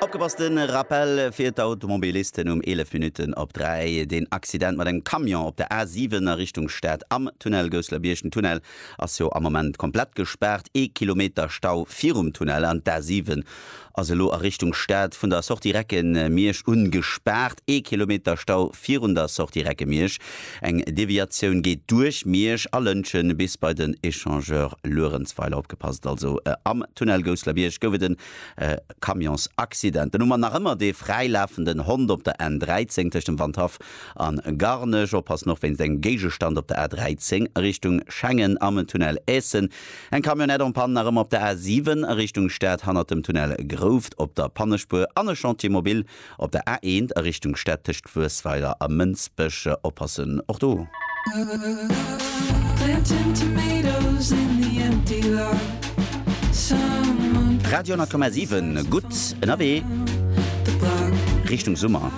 Opgepasst, de Rappel fir d'Automobilisten um 11 Minutten op 3, Deen Accident mat engem Camion op der A7 a Richtung Stad am Tunnel Gousselerbierg. Den Tunnel ass jo am Moment komplett gespaart, ee Kilometer Stau virum Tunnel an d'A7 ass elo a Richtung Stad vun der Sortie Recke-Miersch un gespaart, ee Kilometer Stau virun der Sortie Recke-Miersch. Eng Deviatioun geet duerch Miersch a Lëntgen bis bei den Echangeur Luerenzweiler. Opgepasst also, am Tunnel Gousselerbierg gouf et en Camionsaccident. Dann hu mer nach ëmmer dee fräilafenden Hond op der N 13 tëscht dem Wandhaff an Garnech. Oppassen och wéinst engem Géigestand op der A 13 a Richtung Schengen am Tunnel Aessen. Eng Camionnette en panne nach ëmmer op der A 7 a Richtung Stad hannert dem Tunnel Grouft op der Pannespuer an e Chantier mobile op der A 1 a Richtung Stad tëscht Wuessweiler a Mënsbech. Oppassen och do. Radio 10,7 gutt ënnerwee Richtung Summer.